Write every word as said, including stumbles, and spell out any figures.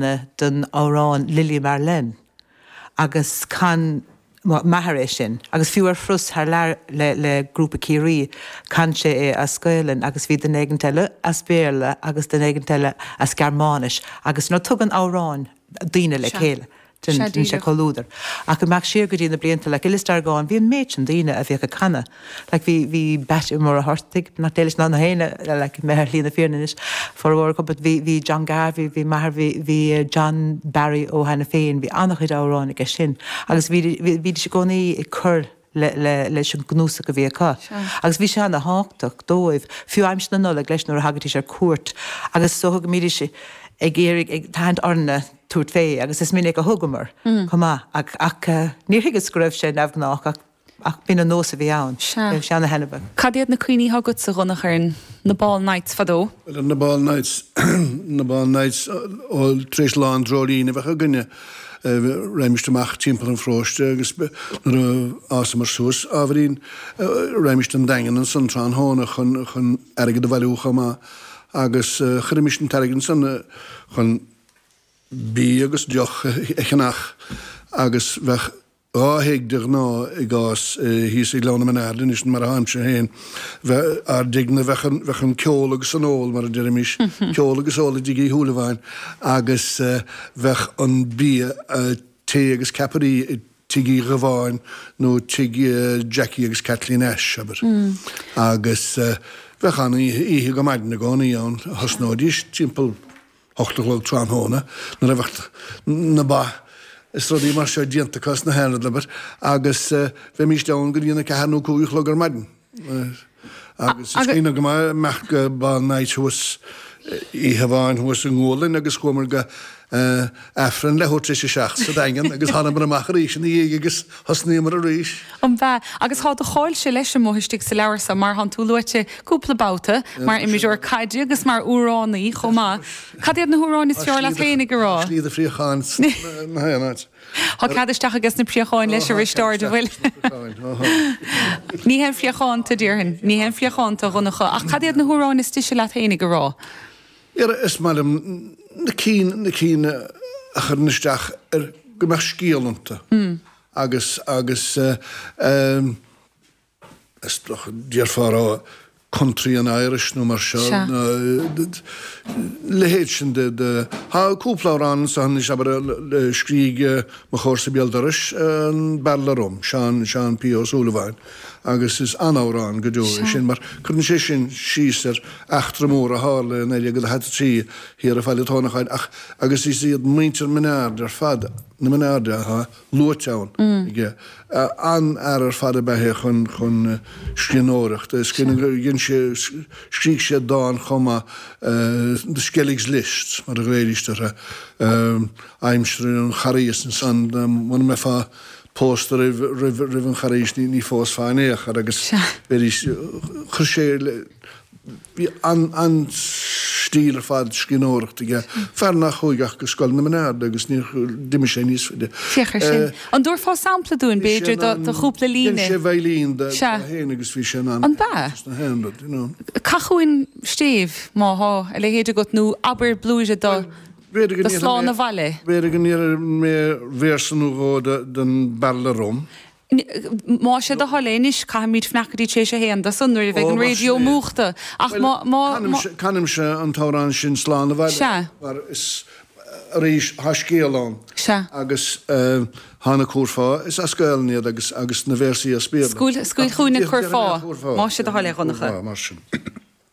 den amhrán Lili Marlene agus chan m'athair é sin, agus fiú ar thuras thar lear le, le grúpa Ciarraí chan sé é as Gaelainn agus bhí duine éigin eile as Béarla agus duine éigin eile as Gearmáinis agus nó tugann amhráin daoine le chéile. Sin sé comhluadar. Ach go mbeadh siar go dtí na blianta le Gillistargáin, bhí an méid sin daoine a bhíodh ag canadh. Like bhí bhí Bat Muircheartaigh nach déis ná na héine like mé ar shlí na fírinne anois formhór acu, but bhí bhí John Garvey, bhí m'athair, bhí bhí John Barry ó Hainiféin, bhí an-chuid amhrán aige sin. Agus bhí bhídís i gcónaí ag cur le, le, leis an gcnuasach a bhí acu. Agus bhí sé an-tábhachtach dóibh, fiú aimsir na Nollag leis nuair a thagaidís ar cuairt, agus so go mbídís ag iarraidh ag tathant orainne tabhairt fé agus is minic a thugamar chomh maith ach ach níor thuigeas go raibh sé neamhghnách ach ach b'in an nós a bhí ann. Sea. Sé ana-thaitneamhach. Cad iad na cuimhní atá agatsa a Dhonncha ar na ball nights fadó? Well na ball nights na ball nights ó tar éis lá an dreoilín a bheadh againne raghaimist amach timpeall an pharóiste agus nuair a fhásamar suas ábhairín raghaimist an Daingean ansan tráthnóna chun chun airgead a bhailiú chomh maith agus chuirimis an t-airgead ansan chun bia agus deoch a cheannach agus bheadh dhá thigh de ghnáth i gcás thíos i Gleann na Menard anois mar a tháimse féin bheith ár dtigh-ne bheadh an bheadh an ceol agus an ól mar a deirimis ceol agus ól i dtigh Uí Shúilleabháin agus bheadh an bia tae agus ceapairí i tigh Uí Dhubháin nó tigh Jackie agus Kathleen Ashe abair agus bheadh an oíche oíche go maidin i gcónaí ann thosnóidís timpeall hocht a chlog tráthnóna nuair a bheadh na ba is rudaí mar seo déanta acu sna haon rud abair agus bheimís ann go dtí an a ceathair nó cúig a chlog ar maidin agus is cuimhin go maith imeacht go ball night thuas oíche amháin thuas i nGualainn agus chuamar go Aifreann leathuair tar éis a seacht sa Daingean agus thánamar amach arís ina dhiaidh agus thosnaíomar arís. An b'ea? Agus tá do cháilse leis amuigh istigh sa leabhar seo mar thánn tú luaite cúpla babhta mar imreoir caide agus mar amhránaí chomh maith. Cad iad na hamhráin is fearr leat féinig a rá? Tá slí do phríocháin sna haon áit. Tá cead isteach aige sna príocháin leis arís ard a bhfuil. Ní haon phríochánta déarfainn, ní haon phríochánta a Dhonncha, ach cad iad na hamhráin is deise leat féinig a rá? Is maith liom na cinn na cinn a chuireann isteach ar go mbeadh scéal iontu agus agus is dócha déarfá a rá country and Irish nó mar seo leithéid sin de de Tá cúpla amhrán anseo anois abair a scrígh mo chomharsa béal dorais an Bearla Rum, Seán Seán P. Ó Súilleabháin agus is an-amhrán go deo é sin mar cuireann sé sin síos ar eachtra mór a tharla i naoi déag daichead a trí thiar i Faille Tónacháin ach agus is iad muintir Menard ar fad na Menard atá luaite ann aige. An-fhear ar fad ab ea é chun chun scríbhneoireachta. Dhein sé scrígh sé dán chomh maith The Skelligs List mar a ghlaoidís orthu aimsir an Charghais ansan muna mbeifeá pósta roimh roimh roimh an Charghais ní ní phósfá in aon chor agus bheidís chuir sé bhí an an stíl ar fad scríbhneoireachta aige. Fear nach chuaigh ach go Scoil na Menard agus níor d'imigh sé níos faide. Féach ar sin. An dtabharfá sampla dúinn b'fhéidir do do chúpla Dhein líne? sé veidhlín de Sea. féin agus bhí sé in ann An b'ea? na haon rud, you know. Caith chugainn stéibh má thá a leithéid agat nó abair blúire do B'fhéidir go do ndéarfaidh Slán mé Abhaile. b'fhéidir go ndéarfaidh mé véarsa nó dhó de den Bearla Rum. Más é do thoil é anois, caithfimid fanacht go dtí tar éis a haon de san nuair a bheidh Ó, an mar raidió sin é. múchta. Ach Bhuel, má, má, má. canaimse, canaimse an t-amhrán sin Slán Abhaile Sea. mar is arís thá scéal ann Sea. agus thá na curfá, is as Gaelainn iad agus agus na véarsaí as Béarla. Scaoil, scaoil Ach chugainn an déarfaidh mé an curfá, curfá, más é do déarfaidh thoil mé é, an Dhonncha. curfá mar sin.